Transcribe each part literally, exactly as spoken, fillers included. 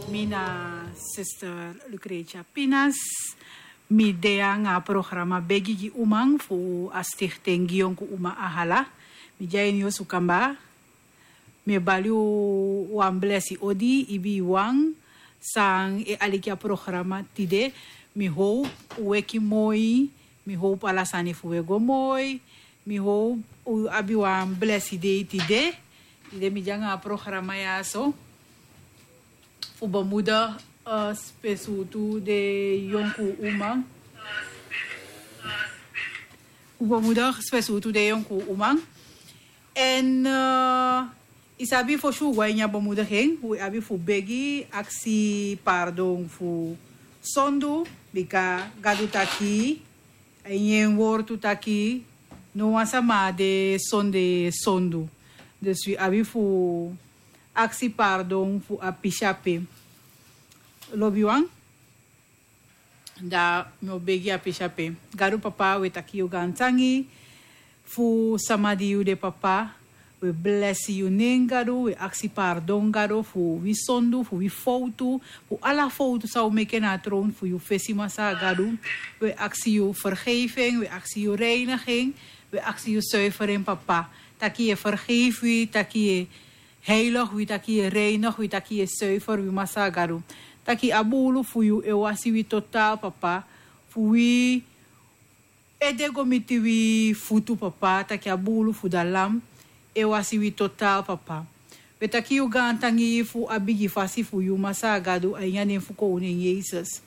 Mi na sister Lucretia Pinas. Mi de anga a programa Begi gi uman fu a stichting gi yonku uma a hala. Mi de a ini yu sukanba. Mi e bali yu wan blesi odi, ibi wan san e aliki a programa tide. Mi howpu un weki moi. Mi howpu ala sani fu un e go moi. Mi howpu un abi wan blesi dei tide. Tide mi de anga a programa ya so fu bemoedig, eh, spesutu de yonku uman. Fu bemoedig spesutu de yonku uman. En, eh, i sabi, fosi un go a ini a bemoediging, un abi fu begi, aksi pardon fu sondu, bika Gadu taki, a ini en wortu taki, no wan sama de sonde sondu. Dus wi abi fu aksi pardon fu a pisi ape. Lobiwan, da mi o begi a pisi ape. Gadu papa, wi e taki yu gaantangi fu sama di yu de papa. Wi e blesi yu nen Gadu, wi e aksi pardon Gadu fu wi sondu, fu wi fowtu, fu ala fowtu san wi meke na a tron fu yu fesi Masaa Gadu. Wi e aksi yu fergeifi en, wi e aksi yu reinigi en, wi e aksi yu suiferi en papa. Taki yu e fergeifi wi, taki yu e heilig wi, taki yu e reinigi wi, taki yu e suiferi wi Masaa Gadu. Taki a buulu fu yu e wasi wi totaal papa, fu wi ede go miti wi futu papa, taki a buulu fu da lam e wasi wi totaal papa. Wi e taki yu gaantangi fu a bigi fasi fu yu Masaa Gadu, a ini a nen fu Koning Yesus.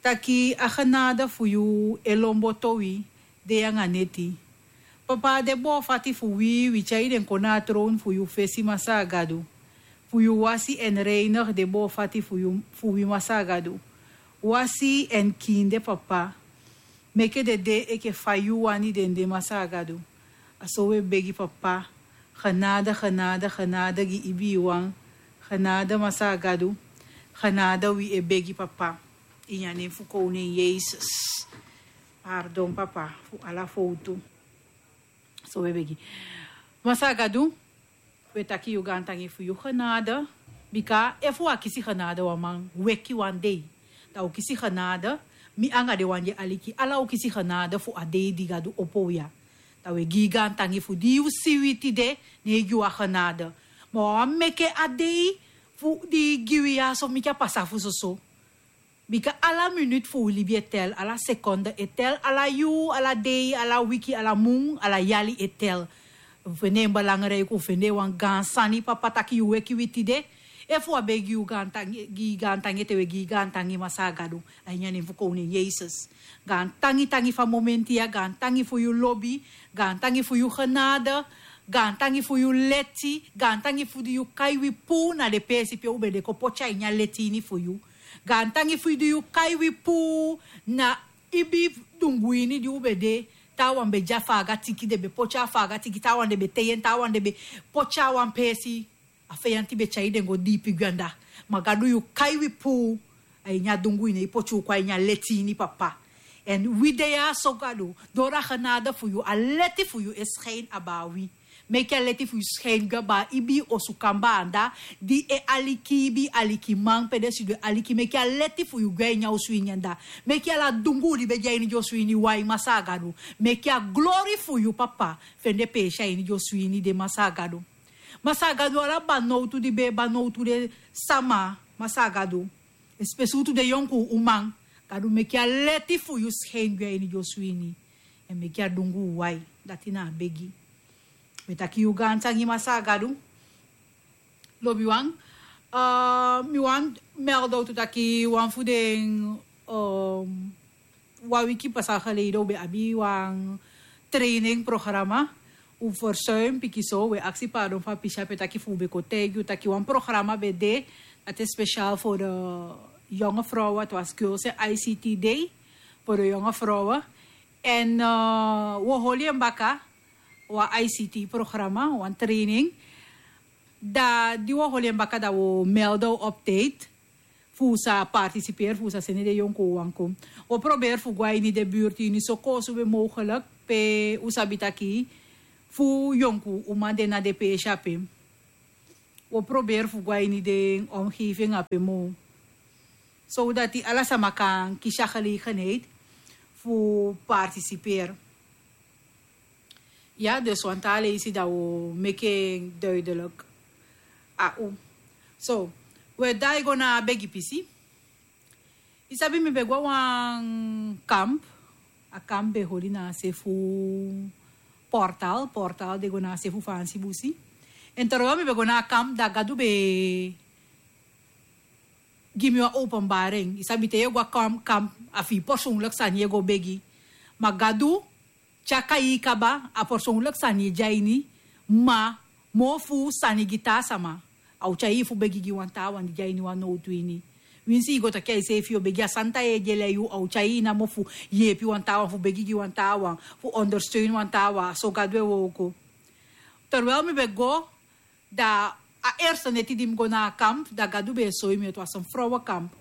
Taki a genade fu yu e lon boto wi dei anga neti. Papa, den boo fati fu wi, wi tyai den kon na a tron fu yu fesi Masaa Gadu. Fu yu wasi en reinigi den boo fati fu yu, fu wi Masaa Gadu. Wasi en kiin den papa. Meke den de enke fa yu wani den de Masaa Gadu. A so wi e begi papa. Genade, genade, genade gi ibiwan. Genade Masaa Gadu. Genade wi e begi papa. Ini a nen fu Koning Yesus. Pardon papa fu ala fowtu. So wi e begi. Masaa Gadu, wi e taki yu gaantangi fu yu genade. Bika efu wi á kisi genade, wan man weki wan dei, da wi o kisi genade. Mi anga den wan di e aliki, ala wi o kisi genade fu a dei di Gadu opo wi ya. Da wi e gi yu gaantangi fu di yu si wi tide, ne yu gi wi a genade. Ma wi á wani meke a dei fu di yu gi wi ya so meke a pasa fu soso. Bika ala minuut fu wi libi e tel, ala sekonde e tel, ala yuu, ala dei, ala wiki, ala mun, ala yali e tel. Wi fende en belangrijk, wi fende en wan gaan sani papa taki yu weki wi tide. Efu wi á be gi yu gaantangi, gi gaantangi ete, wi e gi gaantangi Masaa Gadu. A ini a nen fu Koning Yesus. Gaantangi, tangi fu a momenti ya, gaantangi fu yu lobi, gaantangi fu yu genade, gaantangi fu yu leti, gaantangi fu di yu kai wi puu na den peesi pe u be de kon poti a ini a leti ini fu yu. Gaantangi fu di yu kai wi puu na ibi dungu ini di u be de. Taawan be de a faaga tiki, den be poti a faaga tiki, taawan den be tei en, taawan den be poti a wan peesi. A feyanti be tyai den go diipi gwe anda. Ma Gadu, yu kai wi puu a ini a dungu ini, i poti u kon a ini a leti ini papa. Èn wi de ya so Gadu, doro a genade fu yu, a leti fu yu e skein abaa wi. Meke a leti fu yu skein gwe abaa ibi osu kamba anda, di e aliki, ibi alikiman pe den sidon e aliki, meke a leti fu yu gwe a ini a osu ini anda. Meke ala dungu di be de a ini den osu ini wai Masaa Gadu. Meke a glori fu yu papa fende peesi a ini den osu ini de Masaa Gadu. Masaa Gadu, ala banowtu di be e banowtu den sama Masaa Gadu, espesrutu den yonku uman, Gadu meke a leti fu yu skein gwe a ini den osu ini. Èn meke a dungu wai, dati na a begi. Mi e taki yu gaantangi Masaa Gadu. Lobiwan, eh, mi wani melde owtu taki wan fu den, eh, wan wiki pasa geleden u be abi wan training programa. U verzuim pikinso, wi e aksi pardon fu a pisi ape taki fu u be kon taigi u taki wan programa be de, dati speciaal voor de jonge vrouwen, het was Girls en I C T Day voor de jonge vrouwen. Èn, eh, wi o holi en baka, wan I C T programa, wan training. Da di wi o holi en baka, da wi o melde u op tijd. Fu u sa participeri, fu u sa seni den yonku uman kon. Wi o proberi fu go a ini den buurt ini so koosube mogelijk, pe u sabi taki fu yonku uman de na den peesi ape. Wi o proberi fu go a ini den omgeving ape moo, sowdati ala sama kan kisi a gelegenheid fu partisiperi. Ya, dus wan taa leisi dan wi o meki en duidelik a u. So, wi e daai go na a begi pisi. Yu sabi, mi be go a wan kamp. A kamp be hori na a se fu Portal. Portal de go na a se fu Faansi busi. Èn terwijl mi be go na a kamp, da Gadu be gi mi wan openbaring. Yu sabi, te yu e go a kamp, kamp a fu yu persoonlijk sani yu e go begi. Ma Gadu tyari yu kaba, a persoonlijk sani e de a ini, ma moo fu sani gi taa sama. A o tyari yu fu begi gi wan taawan di de a ini wan nowtu ini. Winsi yu go taki a yuseefi yu o begi, a santa yeye di e lei yu, a o tyari yu namo fu yeepi wan taawan, fu begi gi wan taawan, fu ondersteun wan taawan. So Gadu e wooko. Terwijl mi be go, da a eerste neti di mi go na a kamp, da Gadu be e soi mi, het was een vrouwenkamp.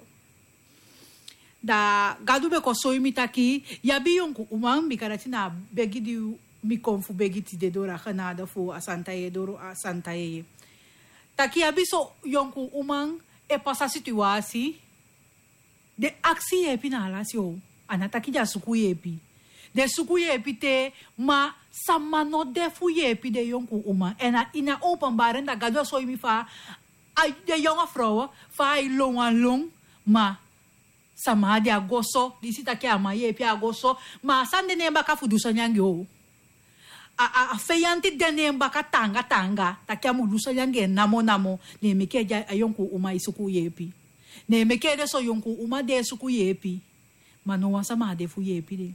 Da Gadu be kon soi mi taki, yu abi yonku uman, bika dati na a begi di mi kon fu begi tide doro a genade fu a santa yeye, doro a santa yeye. Taki yu abi so yonku uman e pasa situasi, den aksi yeepi na a lasi o. A ná taki den á suku yeepi. Den suku yeepi te, ma sama no de fu yeepi den yonku uman. Èn a ini a openbaring da Gadu e soi mi fa a, den yonku frow, fa a e lon wan lon, ma sama á de, a go so, disi taki a man yeepi, a go so, ma a sani de na en baka fu du sani anga en o. A, a, a feyanti de na en baka taanga taanga, taki a mu du sani anga en namo namo, ne en meke a yonku uman e suku yeepi. Ne en meke den so yonku uman de e suku yeepi. Ma no wan sama á de fu yeepi den.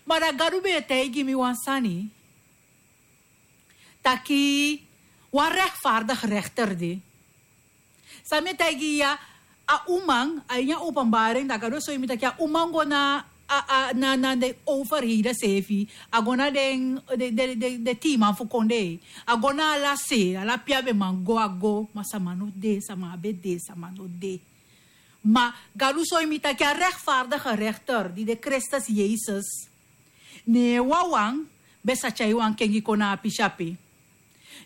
Ma da Gadu be e taigi mi wan sani, taki wan rechtvaardig rechter de. San mi e taigi yu ya, a uman, a ini a openbaring, da Gadu e soi mi taki a uman go na, a, a, na, na den overheden seefi, a go na den, den, den, den, den tiiman fu kondee, a go na ala se, ala pe a be man go, a go, ma sama no de, sama á be de, sama no de. Ma Gadu soi mi taki a rechtvaardige rechter, di de Kristus Yesus, ne en wawan be sa tyai wan kengi kon na a pisi ape.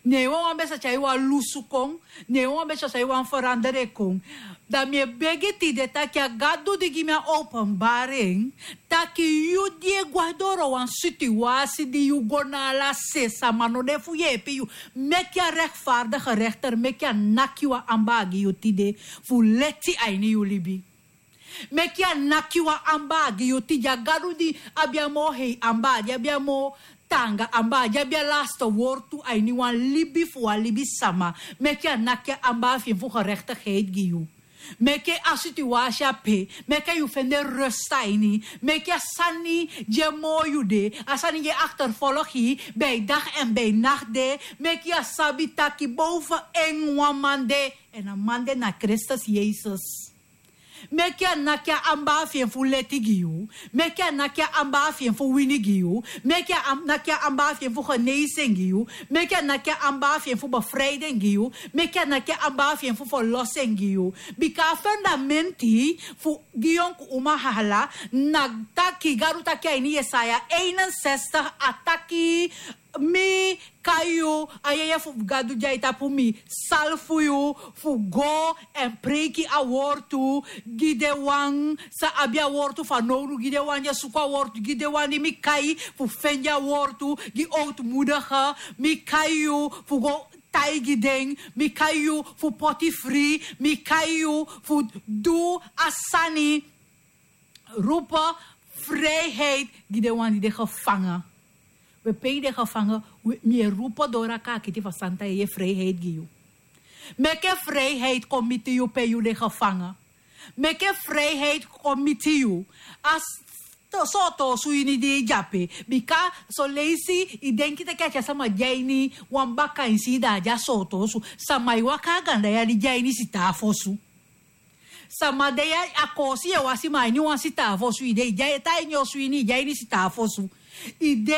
Ne en wawan be sa tyai wan lusu kon, ne en wawan be sa tyai wan ferandere kon. Da mi e begi tide taki a Gadu di gi mi a openbaring, taki yu di e go doro wan situasi di yu go na ala se, sama no de fu yeepi yu, meke a rechtvaardige rechter, meke a naki wan ambaar gi yu tide, fu leti a ini yu libi. Meke a naki wan ambaar gi yu tide, a Gadu di abi a moo hei ambaar, di abi a moo taanga ambaar, di abi a laste wortu a ini wan libi fu wan libisama. Meke a naki a ambaar fi en fu gerechtigheid gi yu. Meke a situasi ape, meke yu fende rust a ini. Meke a sani di e moo yu de, a sani di e achtervolg yu bij dag en bij nacht de, meke yu sabi taki boven en wan man de, èn a man de na Kristus Yesus. Meke a naki a ambaar fi en fu leti gi yu. Meke a naki a ambaar fi en fu wini gi yu. Meke a am-, naki a ambaar fi en fu genezing gi yu. Meke a naki a ambaar fi en fu bevrijding gi yu. Meke a naki a ambaar fi en fu verlossing gi yu. Bika a fundamenti fu gi yonku uman hala, na taki Gadu taki a ini Yesaya eenenzestig, a taki, mi kai yu, a yeye fu Gadu di a e tapu mi, salfu yu fu go èn preiki a wortu gi den wan san abi a wortu fanowdu, gi den wan di e suku a wortu, gi den wan di mi kai fu fende a wortu, gi ootmoedige, mi kai yu fu go taigi den, mi kai yu fu poti fri, mi kai yu fu du a sani. Roepen vrijheid gi den wan di de gevangen. We pe yu de gevangen, we, mi e roepen doro a kaakiti fu a santa yeye vrijheid gi yu. Meke vrijheid kon miti yu pe yu de gevangen. Meke vrijheid kon miti yu. A s-, to-, sooto osu ini di yu de ape. Bika son leisi yu denki taki a tyari sama de a ini wan baka ini si, da a de a sooto osu. Sama e waka a ganda yari de a ini sitaafu osu. Sama de ya, a koosi yu e wasi, ma a ini wan sitaafu osu yu de, yu de a e tan a ini osu ini, yu de a ini sitaafu osu. Yu de,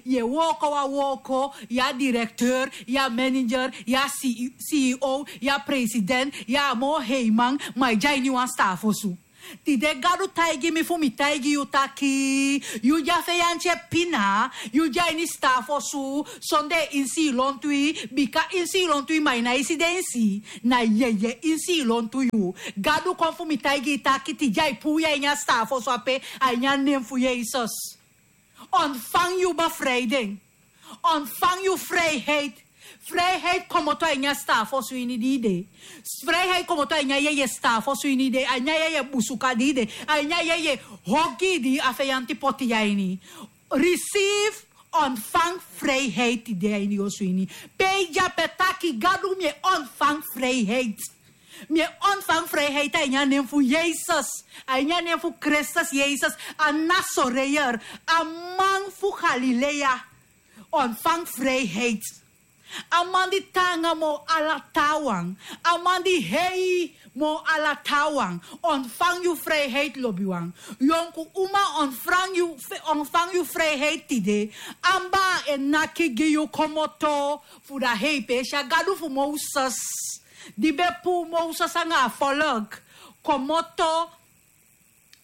yu e wooko wan wooko, yu a directeur, yu a manager, yu a C E, C E O, yu a president, yu a moo heiman, ma yu de a ini wan sitaafu osu. Tide Gadu taigi mi fu mi taigi yu taki, yu de a feyanti e pina, yu de a ini staafu osu, sondee insi i lontu i, bika insi i lontu i, ma i nái si den insi, na yeye insi i lontu yu. Gadu kon fu mi taigi i taki tide ai puu yu a ini a staafu osu ape, a ini a nen fu Yesus. Ontfang yu bevrijding. Ontfang yu vrijheid. Vrijheid komoto a ini a staafu osu ini di i de. Vrijheid komoto a ini a yeye staafu osu ini di i de. A ini a yeye busuka di i de. A ini a yeye hogi di a feyanti poti yu a ini. Receive, ontfang vrijheid tide a ini yu osu ini. Pe i de ape taki Gadu mi e ontfang vrijheid. Mi e ontfang vrijheid a ini a nen fu Yesus. A ini a nen fu Kristus Yesus, a Nasoreër, a man fu Galilea. Ontfang vrijheid. A man di taanga moo ala taawan. A man di hei moo ala taawan. Ontfang yu vrijheid, lobiwan. Yonku uma, ontfang yu, ontfang yu vrijheid tide. Amba e naki gi yu komoto fu da hei peesi. A Gadu fu Moses, di be puu Moses anga a folk komoto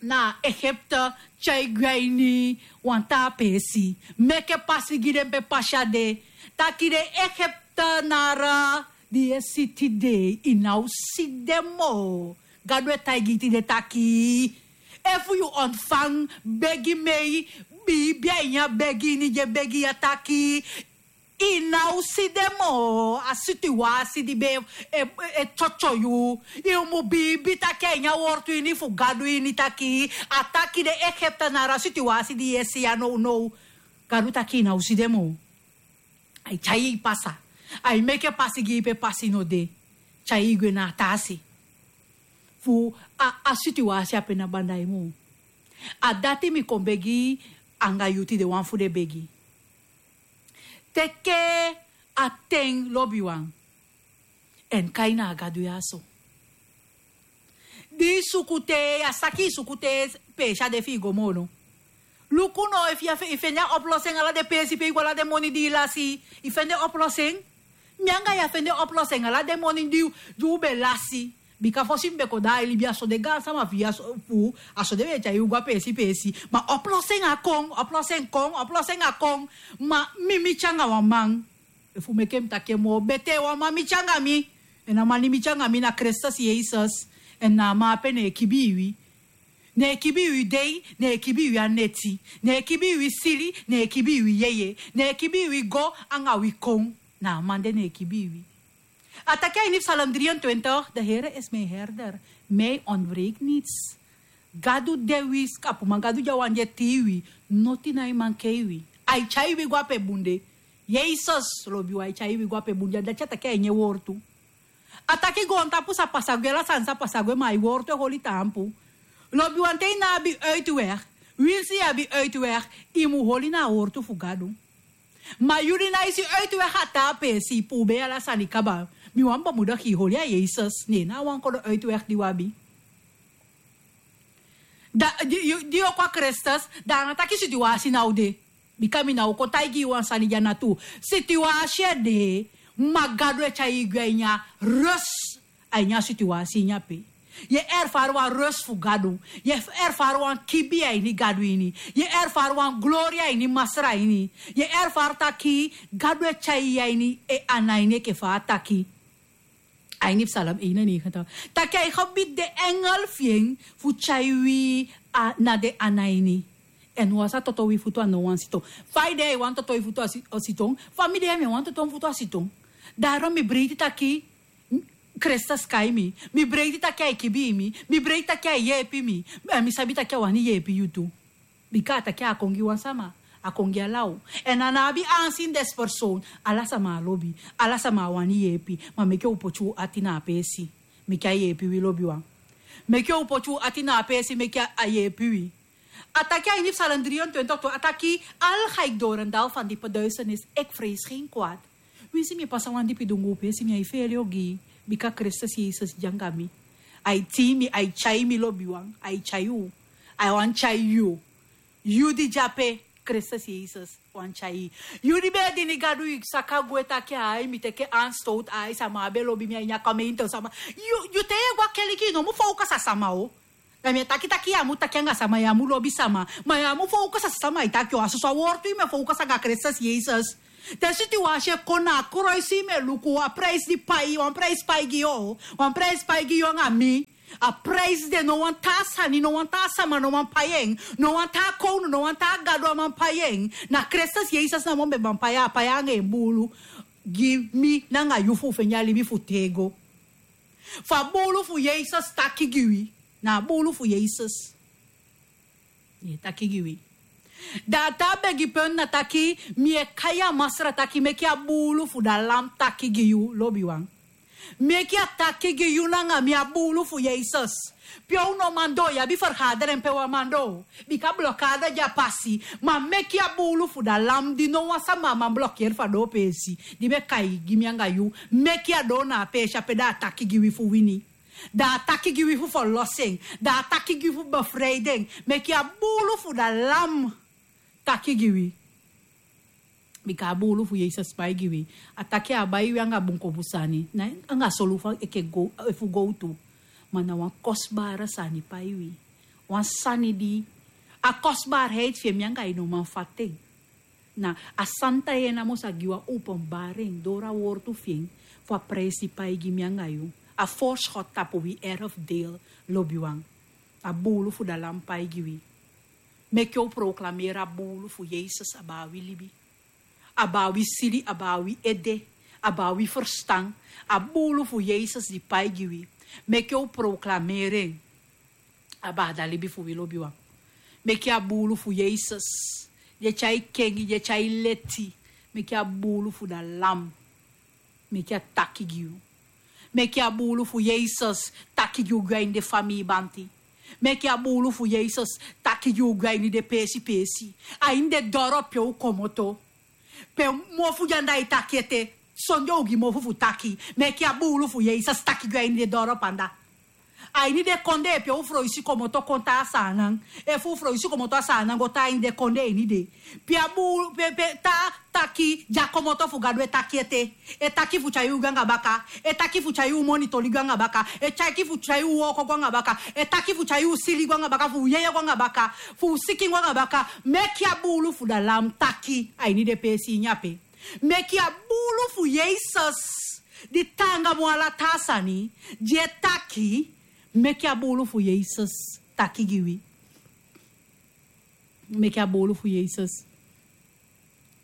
na Egipte, tyai gwe a ini wan taa peesi, meke pasi gi den pe pasi á de. Taki den Egiptenaren di yu e si tide, i ná o si den moo. Gadu e taigi i tide taki, efu yu ontfang begi mei, biibi a ini a begi ini di e begi ya taki i ná o si den moo. A situwasi di be e, e, e tyotyo yu, yu mu biibi taki a ini a wortu ini fu Gadu ini taki, a taki den Egiptenaren, a situwasi di yu e si ya nownow, Gadu taki i ná o si den moo. Ai tyai i pasa. Ai meke pasi gi i pe pasi no de. Tyai i gwe na a taa se fu a, a situwasi ape ná banda yu moo. A dati mi kon begi anga yu tide, wan fu den begi. Teke a ten, lobiwan, èn kai na a Gadu ya so. Di i suku te, ya saki i suku te, peesi á de fi i go moo no. Luku no, efu yu á fe-, i fende a oplossing ala den peesi pe i go, ala den moni di i lasi, i fende oplossing. Mi anga yu á fende oplossing ala den moni di, di u be lasi. Bika fosi mi be kon, da ai libi a so den gaansama fi a so, fu, a so den be e tyai u go a peesi peesi. Ma oplossing á kon, oplossing kon, oplossing á kon. Ma mi miti anga wan man. Efu meke mi taki en moo betee, wan man miti anga mi. Èn a man di miti anga mi na Kristus Yesus. Èn na a man ape ne e kibii wi. Ne e kibii wi dei, ne e kibii wi a neti. Ne e kibii wi sili, ne e kibii wi yeye. Ne e kibii wi go anga wi kon. Na a man de ne e kibii wi. A taki a ini Psalm drieëntwintig: De Here is mijn herder, mij ontbreekt niets. Gadu de wi skapuman, Gadu de a wan di e tii wi, noti nái mankei wi. Ai tyai wi go a pe bun de. Yesus, lobiwan, ai tyai wi go a pe bun de, a dati a taki a ini en wortu. A taki goontapu sa pasa gwe, ala sani sa pasa gwe, ma a wortu e holi taampu. Lobiwan, te i ná abi uitweg, winsi i abi uitweg, i mu holi na a wortu fu Gadu. Ma yu di nái si uitweg a taa peesi, i puu be ala sani kaba. Mi wani bemoedig i, holi a Yesus, ne en na a wan kodo uitweg di u abi. Da, di, yu, di yu o kon a Kristus, da a ná taki situwasi ná o de. Bika mi ná o kon taigi yu wan sani di a ná tuu. Situwasi e de, ma Gadu e tyai i gwe a ini a rust, a ini a situwasi ini ape. Yu e erfari wan rust fu Gadu. Yu e erfari wan kibii a ini Gadu ini. Yu e erfari wan glori a ini Masra ini. Yu e erfari taki Gadu e tyai yu a ini en ana ini, enke fa a taki a ini Psalm eenennegentig. Taki ai gebied den engel fi en fu tyai wi a, na den ana ini. Èn wan sa toto wi futu a no wan siton. Fa i de, ai wani toto i futu a si-, a siton. Fa mi de, mi e wani toto mi futu a siton. Daarom mi breiti taki Kristus kai mi. Mi breiti taki ai kibii mi. Mi breiti taki ai yeepi mi. Èn mi sabi taki a wani yeepi yu tu. Bika a taki a á kon gi wan sama, a kon gi ala u. Èn a ná abi aanzien des persoon. Ala sama a lobi, ala sama a wani yeepi. Ma meke u poti u ati na a peesi. Meke a yeepi wi, lobiwan. Meke u poti u ati na a peesi, meke a, a yeepi wi. A taki a ini Psalm drieëntwintig tu, a taki: Al ga ik door een dal van diepe duisternis, ik vrees geen kwaad. Winsi mi e pasa wan dipi dunguu peesi, mi nái feele ogii, bika Kristus Yesus de anga mi. Ai tii mi, ai tyai mi, lobiwan, ai tyai u. Ai wani tyai yu. Yu di de ape, Kristus Yesus wani tyai. Yu di be e dini Gadu, i saka gwe taki: Ai, mi teke aanstoot, ai, sama á be lobi mi a ini a gemeente, sama. Yu, yu te yu e go a keliki, i no mu focus a sama o. Da mi e taki taki yu á mu taki anga sama, yu á mu lobi sama. Ma yu á mu fowkasi a sama e taki o, a soso a wortu yu mu e fowkasi anga Kristus Yesus. Te situwasi e kon na a kroisi yu mu e luku, a prijsi di pai, wan prijsi pai gi yu o, wan prijsi pai gi yu anga mi. A prijsi de no wan taa sani, no wan taa sama no man pai en. No wan taa kownu, no wan taa gadu á man pai en. Na Kristus Yesus namo be man pai en, a pai en anga en buulu. Gi mi nanga yu fu feni a libi fu tego. Fu a buulu fu Yesus taki gi wi. Na a buulu fu Yesus. Yu e taki gi wi. Da a taa begi penti na taki, mi e kai a Masra taki meki a buulu fu da lam taki gi yu, lobiwan. Meki a taki gi yu nanga mi, a buulu fu Yesus. Pe u no man doo, yu abi fergaderen pe wan man doo. Bika blokada de a pasi. Ma meki a buulu fu da lam di no wan sama á man blokeri fu a doo peesi di mi e kai gi mi anga yu. Meki a doo na a peesi ape, da a taki gi wi fu wini. Da a taki gi wi fu ferlosi en. Da a taki gi wi fu befrijden. Meki a buulu fu da lam taki gi wi. Bika a buulu fu Yesus pai gi wi. A taki a á bai wi anga bunkobu sani. Na anga solufa enke go, efu gowtu. Ma na wan kostbare sani pai wi. Wan sani di a kostbaarheid fi en mi anga yu no man fati en. Na a santa yu en namo sa gi wan openbaring doro a wortu fi en. Fu a prijsi pai gi mi anga yu. A voorschot tapu wi erfdeel, lobiwan. A buulu fu da lam pai gi wi. Meki u proklameri a buulu fu Yesus abaa wi libi. Abaa wi sili, abaa wi ede, abaa wi ferstan. A buulu fu Yesus di pai gi wi. Meki u proklameri en. Abaa da libi fu wi, lobiwan. Meki a buulu fu Yesus. Di e tyai kengi, di e tyai leti. Meki a buulu fu da lam. Meki a taki gi yu. Meki a buulu fu Yesus taki gi yu gwe a ini den famii banti. Meki a buulu fu Yesus taki gi yu gwe a ini den peesi peesi. A ini den doro pe u komoto. Pe mofu di anda e taki ete. Sondee u gi mofu fu taki. Meki a buulu fu Yesus taki gwe a ini den doro pe anda. A ini den kondee pe u froisi komoto kon tan a Saanan. Efu u froisi komoto a Saanan go tan a ini den kondee ini de. Pe a buulu, pe, pe taa taki di a komoto fu Gadu e taki ete. E taki fu tyai u gwe anga baka. E taki fu tyai u moni toli gwe anga baka. E taki fu tyai u wooko gwe anga baka. E taki fu tyai u sili gwe anga baka. Fu u yeye gwe anga baka. Fu u sikin gwe anga baka. Meki a buulu fu da lam taki. A ini den peesi ini ape. Meki a buulu fu Yesus, di taanga moo ala taa sani, di e taki, meki a buulu fu Yesus taki gi wi. Meki a buulu fu Yesus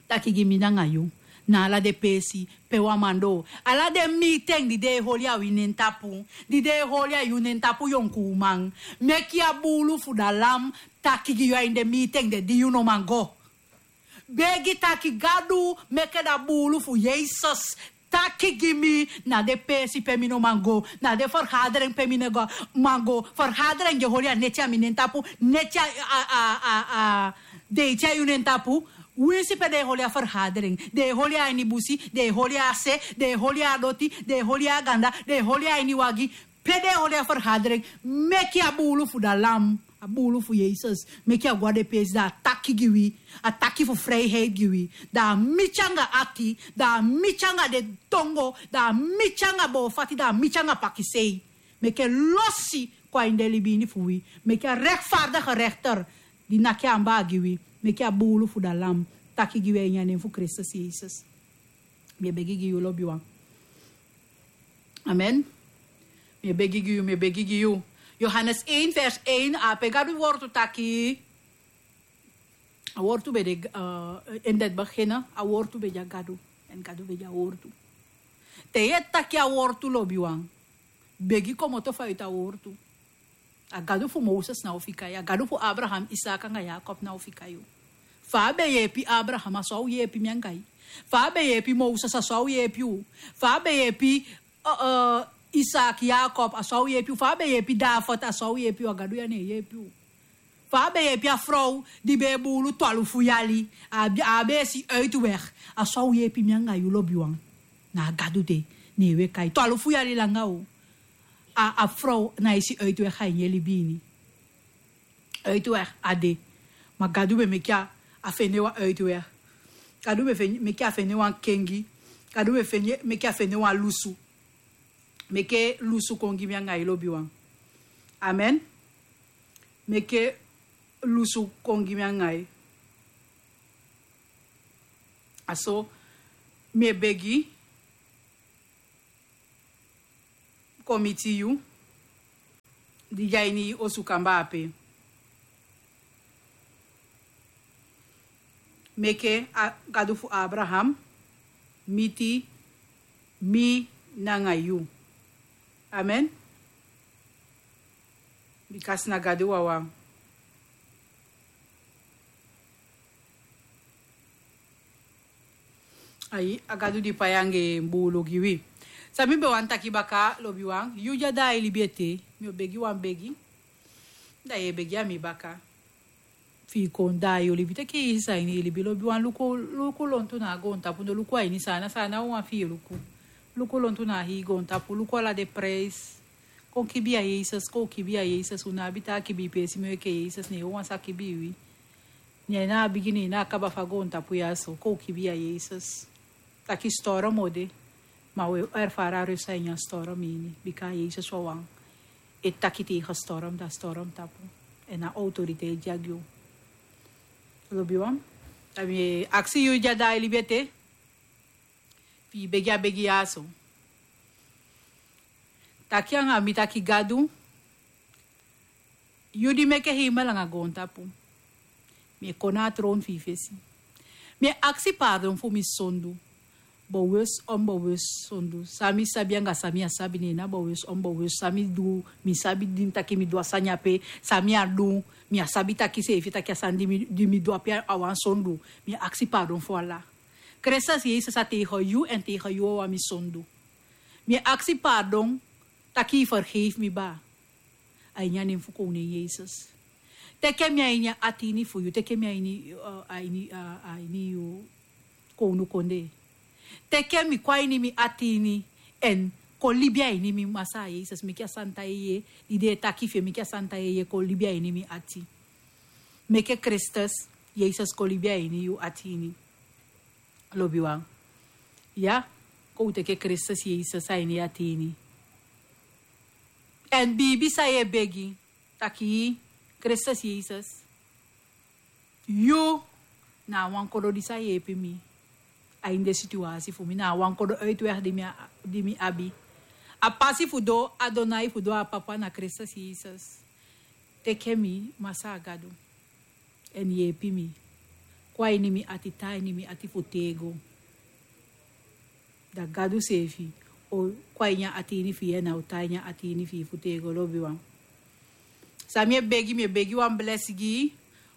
taki gi mi nanga yu. Na ala den peesi pe wan man doo. Ala den miiten di den e holi a wi nen tapu. Di den e holi a yu nen tapu, yonkuuman. Meki a buulu fu da lam taki gi yu a ini den miiten de di yu no man go. Begi taki Gadu, meki da buulu fu Yesus taki gi mi na den peesi pe mi no man go, na den fergaderen pe mi no go, man go. Fergaderen di e holi a neti a mi nen tapu, neti a, a, a, a, a, deiti a yu nen tapu. Winsi pe den e holi a fergaderen, den e holi a ini busi, den e holi a se, den e holi a doti, den e holi a ganda, den e holi a ini wagi. Pe den e holi a fergaderen, meki a buulu fu da lam, a buulu fu Yesus, meki a go a den peesi, da a taki gi wi, a taki fu vrijheid gi wi, da a miti anga ati, da a miti anga den tongo, da a miti anga boofati, da a miti anga pakisei. Meki en losi kon a ini den libi ini fu wi. Meki a rechtvaardige rechter di naki en anbaa gi wi, meki a buulu fu da lam taki gi wi a ini a nen fu Kristus Yesus. Mi e begi gi yu, lobiwan. Amen. Mi e begi gi yu, mi e begi gi yu. Johannes één vers één, ape Gadu wortu taki. A wortu ben de, eh, in het begin, a wortu ben de a Gadu. En Gadu ben de a wortu. Te yu e taki a wortu, lobiwan, begi komoto fu a yu ta wortu. A Gadu fu Moses na o fika yu, a Gadu fu Abraham, Isaac anga Jacob na o fika yu. Fa a ben yeepi Abraham, a so a o yeepi mi anga yu. Fa a ben yeepi Moses, a so a o yeepi u. Fa a ben yeepi, eh, eh, Isaac, Jacob, a so a o yeepi u. Fa a ben yeepi David, a so a o yeepi u. A Gadu ya ne e yeepi u. Fa a ben yeepi a frow di ben e buulu twalufu yali, a, a ben e si uitweg, a so a o yeepi mi anga yu, lobiwan. Na a Gadu de, ne wi e kai. Twalufu yali langa o. A, a frow na e si uitweg a ini en libi ini. Uitweg á de. Ma Gadu ben meki a fende wan uitweg. Gadu ben fen-, meki a fende wan kengi. Gadu ben fende, meki a fende wan lusu. Meki lusu kon gi mi anga yu, lobiwan. Amen. Meke lusu kon gi mi anga yu. A so mi e begi kon miti yu di de a ini osu kamba ape. Meke a Gadu fu Abraham miti mi nanga yu. Amen. Bika a si na Gadu wawan. Ai, a Gadu di pai anga en buulu gi wi. San mi be wani taki baka, lobiwan, yu di a daai libi ete, mi o begi wan begi. Da yu e begi a mi baka. Fi i kon daai yu libi, teke Yesus a ini i libi, lobiwan. Luku, luku lontu na a goontapu, no luku a ini Saanan, Saanan wawan fi i luku. Luku lontu na a hii goontapu, luku ala den prijs. Kon kibii a Yesus, kon kibii a Yesus, un no abi taa kibii peesi moo enke Yesus, ne en wawan sa kibii wi. Ne en na a bigin, ne en na a kaba fu a goontapu ya so, kon kibii a Yesus. Taki storm o de, ma wi e erfara rust a ini a storm ini, bika Yesus wawan e taki tegen storm, da storm tapu. Èn a autoriteit di a gi u. Lobiwan, da mi e aksi yu di a daai libi ete, fi i begi a begi ya so. Taki anga mi taki Gadu, yu di meke hemel anga goontapu. Mi e kon na a tron fu i fesi. Mi e aksi pardon fu mi sondu. Bewus, onbewus sondu. San mi sabi anga san mi á sabi, ne en na bewus, onbewus. San mi du, mi sabi di mi taki mi du a sani ape. San mi á du, mi á sabi taki seefi taki a sani di mi, di mi du ape a wan sondu. Mi e aksi pardon fu ala. Kristus Yesus a tegen yu èn tegen yu wawan mi sondu. Mi e aksi pardon taki i vergeef mi baa. A ini a nen fu Koning Yesus. Teke mi a ini a ati ini fu yu, teke mi a ini, eh, a ini, eh, a ini yu kownu kondee. Teke mi kon a ini mi ati ini, èn kon libi a ini mi, Masaa Yesus, meke a santa yeye, di den e taki fu en, meke a santa yeye kon libi a ini mi ati. Meke Kristus Yesus kon libi a ini yu ati ini. Lobiwan. Ya, kon u teke Kristus Yesus a ini yu ati ini. Èn biibi san yu e begi, taki Kristus Yesus, yu na a wan kodo di sa yeepi mi a ini den situasi fu mi, na a wan kodo uitweg di mi a-, di mi abi. A pasi fu doo, a donai fu doo a Papa na Kristus Yesus. Teke mi, Masaa Gadu. Èn yeepi mi. Kon a ini mi ati, tan a ini mi ati fu tego. Da Gadu seefi o kon a ini a ati ini fi yu, èn a o tan a ini a ati ini fi yu fu tego, lobiwan. San mi e begi, mi e begi wan blesi gi yu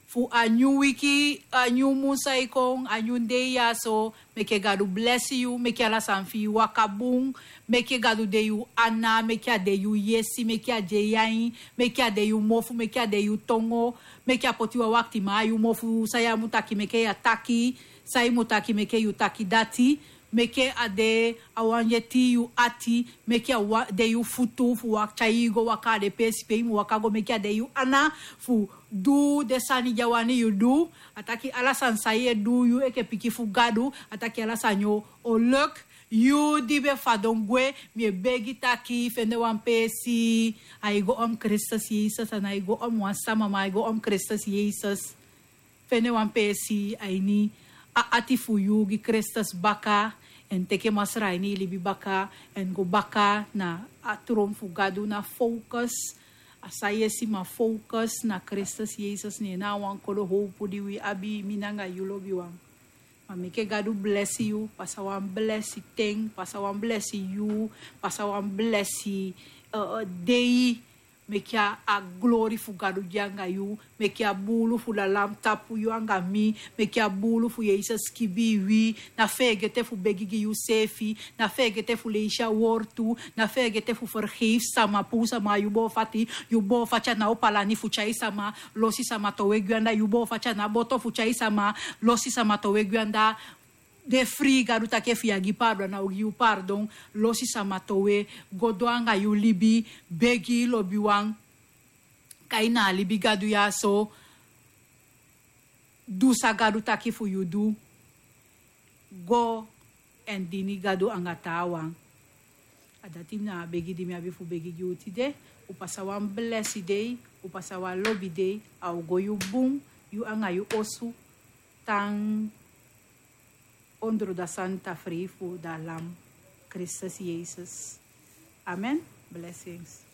fu a nyun wiki, a nyun mun san e kon, a nyun dei ya so. Meke Gadu blesi yu, meke ala sani fi yu waka bun, meke Gadu de yu ana, meke a de yu yesi, meke a de yu ain, meke a de yu mofu, meke a de yu tongo, meke a poti wan waktiman a yu mofu, san yu á mu taki meke yu á taki, san yu mu taki meke yu taki dati, meke a de a wan yu e tii yu ati, meke a wa-, de yu futu fu waka, tyai yu go waka a den peesi pe yu mu waka go, meke a de yu ana fu du den sani di a wani yu du. A taki ala sani san yu e du, yu enke pikin fu Gadu, a taki ala sani o, o leki. Yu di be fadon gwe, mi e begi taki fende wan peesi. Ai go om Kristus Yesus, a nái go om wan sama, ma ai go om Kristus Yesus. Fende wan peesi a ini a ati fu yu, gi Kristus baka, èn teke Masra a ini i libi baka, èn go baka na a tron fu Gadu, na focus. A san yu e si, ma focus na Kristus Yesus, ne en na a wan kodo howpu di wi abi, mi nanga yu, lobiwan. Ma meke Gadu blesi yu, pasa wan blesi ten, pasa wan blesi yuu, pasa wan blesi, eh, eh, dei. Meke a, a glori fu Gadu de anga yu, meke a buulu fu Lalam tapu yu anga mi, meke a buulu fu Yesus kibii wi. Na feegete fu begi gi yuseefi, na feegete fu leisi a wortu, na feegete fu fergeifi sama, puu sama a yu boofati, yu boofati a ná opo a lani fu tyai sama, losi sama towe gwe anda, yu boofati a ná boto fu tyai sama, losi sama towe gwe anda. De frii, Gadu taki efu yu á gi pardon, a ná o gi yu pardon. Losi sama towe, go doo anga yu libi, begi, lobiwan. Kai na a libi Gadu ya so, du san Gadu taki fu yu du. Go èn dini Gadu anga taawan. A dati na a begi di mi abi fu begi gi u tide. U pasa wan blesi dei, o pasa wan lobi dei, a o go yu bun, yu anga yu osu, tan ondro da santa frei fu da lam, Kristus Yesus. Amen. Blessings.